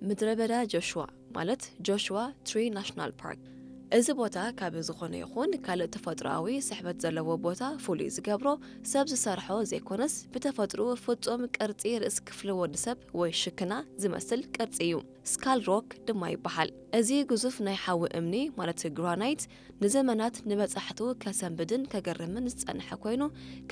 ምድረ በዳ ጆሽዋ ማለት ጆሽዋ ትሪ ናሽናል ፓርክ። እዚ ቦታ ካብ ዝኾነ ይኹን ካልእ ተፈጥሮኣዊ ስሕበት ዘለዎ ቦታ ፍሉይ ዝገብሮ ሰብ ዝሰርሖ ዘይኮነስ ብተፈጥሮ ፍጹም ቅርጺ ርእሲ ክፍሊ ወዲ ሰብ ወይ ሽክና ዝመስል ቅርጺ እዩ። ስካል ሮክ ድማ ይበሃል። እዚ ግዙፍ ናይ ሓዊ እምኒ ማለት ግራናይት ንዘመናት ንበጻሕቱ ከሰንብድን ከገርምን ዝጸንሐ ኮይኑ፣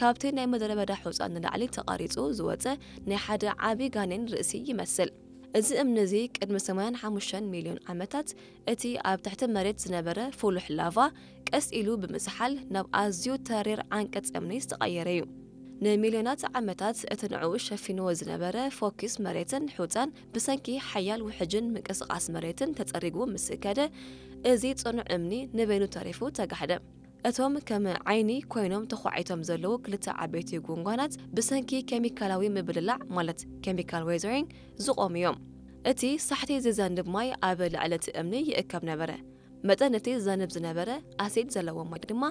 ካብቲ ናይ ምድረ በዳ ሑጻ ንላዕሊ ተቐሪጹ ዝወጸ ናይ ሓደ ዓቢ ጋኔን ርእሲ ይመስል። እዚ እምኒ እዚ ቅድሚ ሰማንያን ሓሙሽተን ሚልዮን ዓመታት እቲ ኣብ ትሕቲ መሬት ዝነበረ ፍሉሕ ላቫ ቀስ ኢሉ ብምዝሓል ናብ ኣዝዩ ተሪር ዓንቀጽ እምኒ ዝተቐየረ እዩ። ንሚልዮናት ዓመታት እቲ ንዕኡ ሸፊንዎ ዝነበረ ፎኪስ መሬትን ሑጻን ብሰንኪ ሓያል ውሕጅን ምንቅስቓስ መሬትን ተጸሪጉ ምስ ከደ፣ እዚ ጽኑዕ እምኒ ንበይኑ ተሪፉ ተጋሕደ። እቶም ከም ዓይኒ ኮይኖም ተዃዒቶም ዘለዉ ክልተ ዓበይቲ ጉንጓናት ብሰንኪ ኬሚካላዊ ምብልላዕ ማለት ኬሚካል ዌዘሪንግ ዝቖሙ እዮም። እቲ ሳሕቲ ዝዘንብ ማይ ኣብ ልዕሊ እቲ እምኒ ይእከብ ነበረ። መጠን እቲ ዝዘንብ ዝነበረ ኣሲድ ዘለዎ ማይ ድማ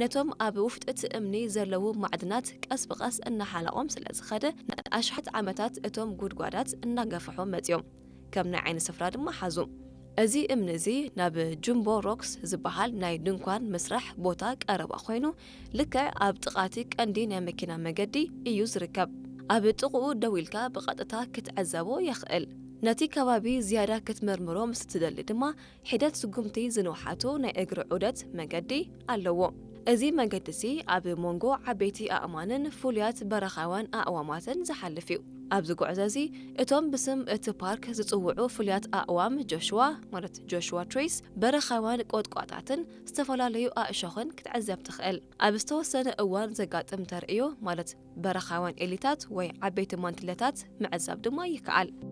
ነቶም ኣብ ውሽጢ እቲ እምኒ ዘለዉ ማዕድናት ቀስ ብቐስ እናሓለቖም ስለ ዝኸደ፣ ንኣሽሓት ዓመታት እቶም ጉድጓዳት እናገፍሑ መጺኦም። ከም ናይ ዓይኒ ስፍራ ድማ ሓዙ። እዚ እምኒ እዚ ናብ ጁምቦ ሮክስ ዝበሃል ናይ ድንኳን ምስራሕ ቦታ ቀረባ ኮይኑ፣ ልክዕ ኣብ ጥቓ እቲ ቀንዲ ናይ መኪና መገዲ እዩ ዝርከብ። ኣብ ጥቕኡ ደው ኢልካ ብቐጥታ ክትዕዘቦ የኽእል። ነቲ ከባቢ ዝያዳ ክትምርምሮ ምስ እትደሊ ድማ፣ ሒደት ስጉምቲ ዝንውሓቱ ናይ እግሪ ዑደት መገዲ ኣለዎ። እዚ መገዲ እዚ ኣብ መንጎ ዓበይቲ ኣእማንን ፍሉያት በረኻውያን ኣእዋማትን ዝሓልፍ እዩ። ኣብዚ ጉዕዞ እዚ፣ እቶም ብስም እቲ ፓርክ ዝጽውዑ ፍሉያት ኣእዋም ጆሽዋ፣ ማለት ጆሽዋ ትሪስ፣ በረኻውያን ቆጥቋጣትን ዝተፈላለዩ ኣእሾኽን ክትዕዘብ ትኽእል። ኣብ ዝተወሰነ እዋን ዘጋጥም ተርእዮ፣ ማለት በረኻውያን ኤሊታት ወይ ዓበይቲ ማንትለታት ምዕዛብ ድማ ይከኣል።